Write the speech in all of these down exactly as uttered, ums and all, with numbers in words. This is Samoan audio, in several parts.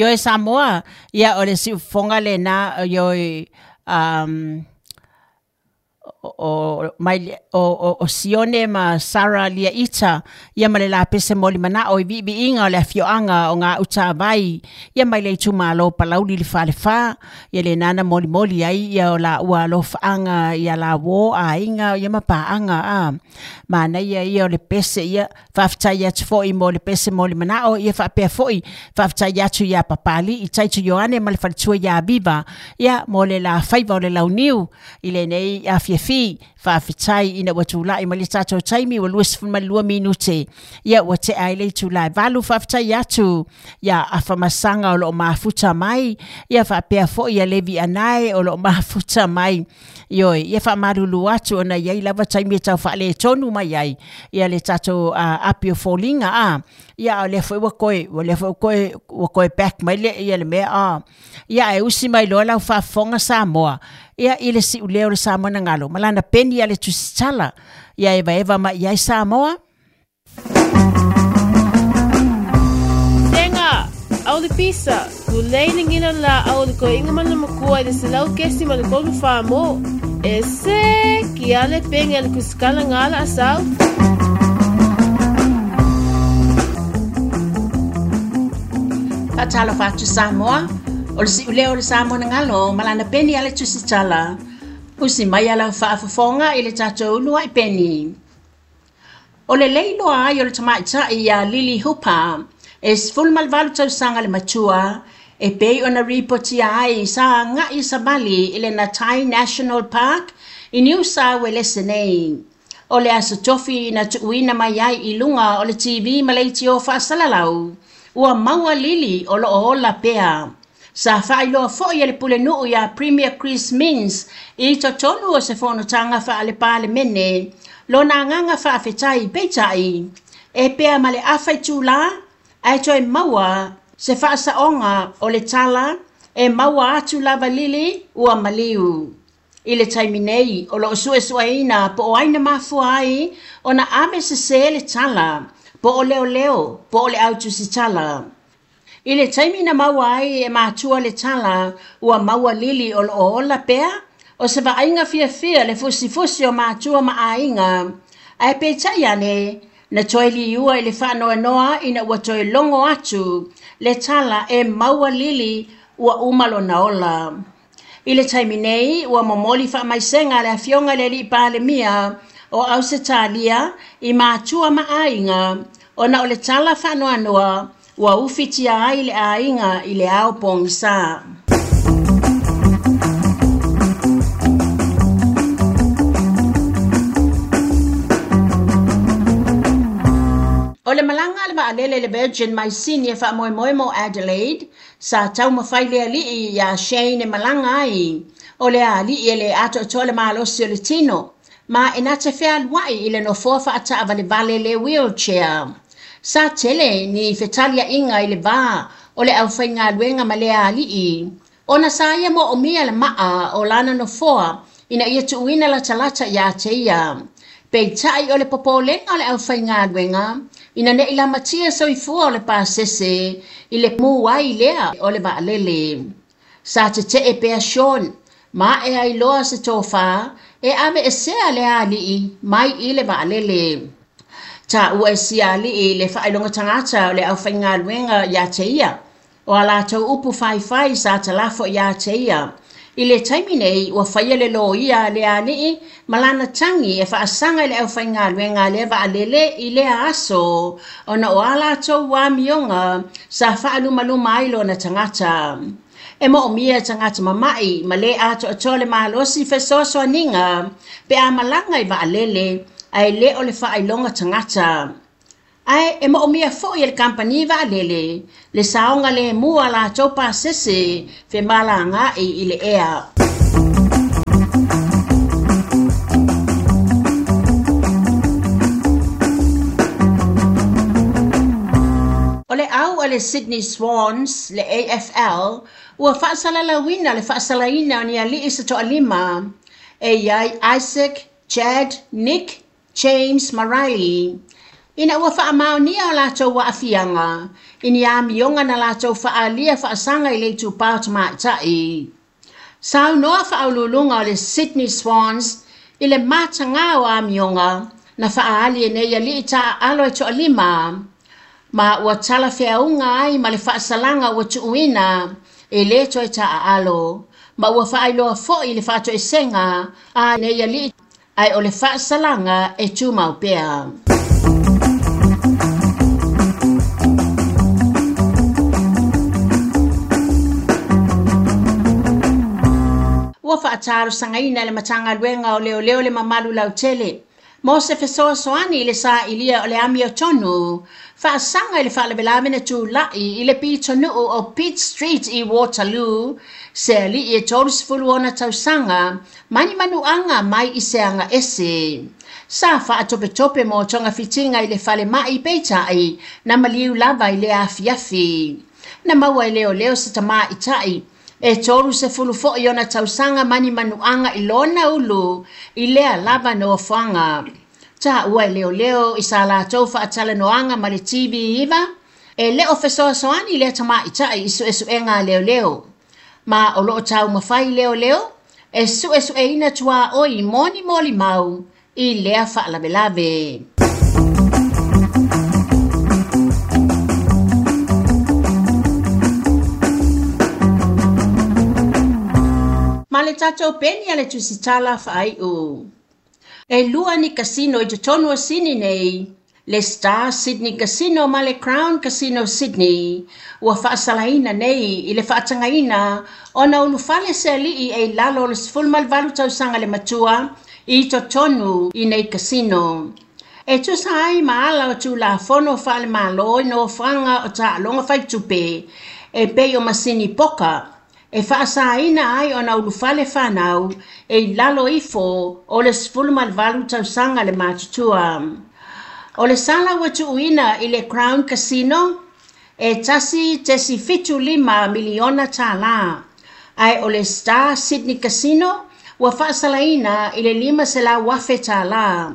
Ioe Samoa, ia o le siufofoga lena ioe um, o mai o o, o Sione ma Sara Lia Ita ia ma le lapese moli manao i viiviiga o le afioaga o Gautavai ia mai le itumalo Palauli le Falefa ia le nana molimoli ai ia o laua alofaaga ia lauō aiga ia ma paaga a manaia ia o le pese ia faafetai atu foʻi mo le pese moli manao ia faapea foʻi faafetai atu iā Papali'i Taito Ioane ma le faletua iā Viva ia mo le lafaiva o le launiu i lenei afiafi faafetai ina ua tulaʻi ma le tatou taimi ua luasefulumalua minute ia ua tea ai le itulā e valu faafetai atu ia Afamasaga o loo mafuta mai ia faapea foʻi ia Levi Anae o loo mafuta mai ioe ia faamalulu atu ona iai lava taimi e tau faaletonu mai ai ia le tatou uh, api o foliga a ia o lea foi ua koe ua lea foi koe ua koe back mai le ia le mea a ia e usi mai loa lau faafofoga Samoa ia i le siuleo o le Samoa na galo ma lana peni a le tusitala ia evaeva mai ai Samoa. Tenga, au le pisa, tulei le ngina la au le koinga mana makua i le selau kesi ma le kolu wha mo. E se, ki ale penge le kusikala ngala asau. Faatalofa atu Samoa, o le siuleo o le Samoa na galo ma lana peni a le tusitala. Usi mai ala faafofoga i le tatou uluai peni. O le leiloa ai o le tamaitai iā Lily Hooper e sefulu ma le valu tausaga le matua e pei ona ripotia ai sa agaʻi savali i le Nattai National Park i Niu Sauelese nei. O le aso tofi na tuuina mai ai i luga o le T V ma leitio faasalalau. Ua maua Lily o loo ola pea. Sa faailoa foʻi e le pulenuu iā Premier Chris Minns i totonu o se fonotaga faale-palemene lona agaga faafetai peitai e pea ma le afa itulā ae toe maua se faasaoga o le tala e maua atu lava Lily ua maliu. I le taimi nei o loo suesueina po o ai na mafua ai ona ave sesē le tala po o leoleo po o le au tusitala. I le taimi na maua ai e matua le tala ua maua Lily o loo ola pea o se vaaiga fiafia le fusifusi o matua ma aiga ae peitai ane na toe liua i le faanoanoa ina ua toe logo atu le tala e maua Lily ua uma lona ola. I le taimi nei ua momoli faamaisega le afioga i le alii palemia o Ausetalia i matua ma aiga ona o le tala faanoanoa ua ufitia ai le aiga i le ao pogisā. O le malaga a le vaalele le Virgin mai Sini e faamoemoe mo Adelaide sa taumafai le alii iā Shane e malaga ai o le alii e le atoatoa le malosi o le tino ma e na te fealuai i le nofoa faataavalevale le wheelchair. Sa tele ni fetaliaiga i le vā o le aufaigaluega ma le alii ona sa ia moomia le maa o lana nofoa ina ia tuuina latalata iā te ia. Peitai o le popolega o le aufaigaluega ina neʻi lamatia soifua o le pasese i le mu ai lea o le vaalele. Sa tetee pea Sean ma e ai loa se tofā e ave esea le alii mai i le vaalele. Taua e sia alii le faailoga tagata o le aufaigaluega iā te ia o a latou upu faifai sa talafo iā te ia. I le taimi nei ua faia le loia a le alii ma lana tagi e faasaga i le aufaigaluega a lea vaalele i lea aso ona o a latou amioga sa faalumaluma ai lona tagata. E moomia e tagata mamaʻi ma lē atoatoa le malosi fesoasoaniga pe a malaga i vaalele ae lē o le faailoga tagata. Ae e moomia foʻi e le kampani vaalele le saoga lemu a latou pasese femalagaʻi i le ea. O le au a le Sydney Swans, le A F L, ua faasalalauina le faasalaina o ni alii se toalima e iai Isaac, Chad, Nick, James ma Riley. Ina ua faamaonia o latou aafiaga I ni amioga na latou faaalia faasaga i le itupā o tamaitai. Saunoa faauluuluga o le Sydney Swans i le matagā o amioga na faaali e nei alii taaalo e toalima ma ua talafeauga ai ma le faasalaga ua tuuina e lē toe taaalo ma ua faailoa foʻi le faatoesega a nei alii ae o le faasalaga e tumau pea. Ua faatalosagaina le Matagaluega o Leoleo le mamalu lautele mo se fesoasoani i le sailia o le amiotonu faasaga i le faalavelave na tulaʻi i le pitonuu o Pitt Street i Waterloo se alii e tolusefulu ona tausaga mai ni manuaga mai i se agaese. Sa faatopetope mo togafitiga i le falemaʻi peitai na maliu lava i le afiafi. Na maua e leoleo se tamaʻitaʻi e tolusefulu foʻi ona tausaga mai ni manuaga i lona ulu i lea lava nofoaga. Taua e leoleo i sa latou faatalanoaga ma le T V iva e le o fesoasoani lea tamaʻitaʻi i suʻesuʻega a leoleo. Ma o loo taumafai leoleo e suʻesuʻeina tuaʻoi mo ni molimau i lea faalavelave. Ma le tatou peni a le tusitala faaiʻu. E lua ni kasino i totonu o Sydney nei, le Star Sydney Casino ma le Crown Casino Sydney, ua faasalaina nei i le faatagaina ona ulufale se alii e i lalo o le sefulu ma le valu tausaga le matua i totonu i nei kasino. E tusa ai ma ala o tulafono faalemālō i nofoaga o taaloga faitupe e pei o masini poka e faasaina ai ona ulufale fanau e i lalo ifo o le sefulu ma le valu tausaga le matutua. O le sala ua tuuina i le Crown Casino e tasi tesi fitu lima miliona tālā, ae o le Star Sydney Casino ua faasalaina i le lima selau afe tālā.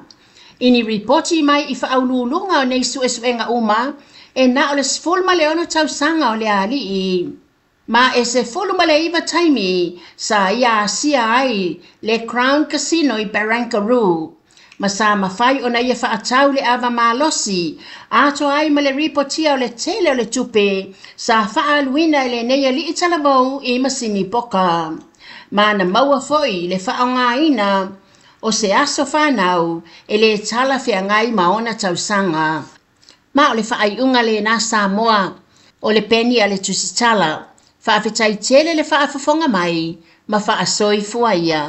I ni ripoti mai i faauluuluga o nei suʻesuʻega uma e na o le sefulu ma le ono tausaga o le alii. Ma e sefulu ma le iva taimi sa ia asia ai le Crown Casino i Barangaroo. Ma sa mafai ona ia faatau le ava malosi atoa ai ma le ripotia o le tele o le tupe sa faaaluina i lenei alii talavou i masini poka. Ma na maua foʻi le faaaogaina o se aso fanau e lē talafeagai ma ona tausaga. Ma o le faaiuga lenā Samoa o le peni a le tusitala. Faafetai tele le faafofoga mai ma faasoifua ia.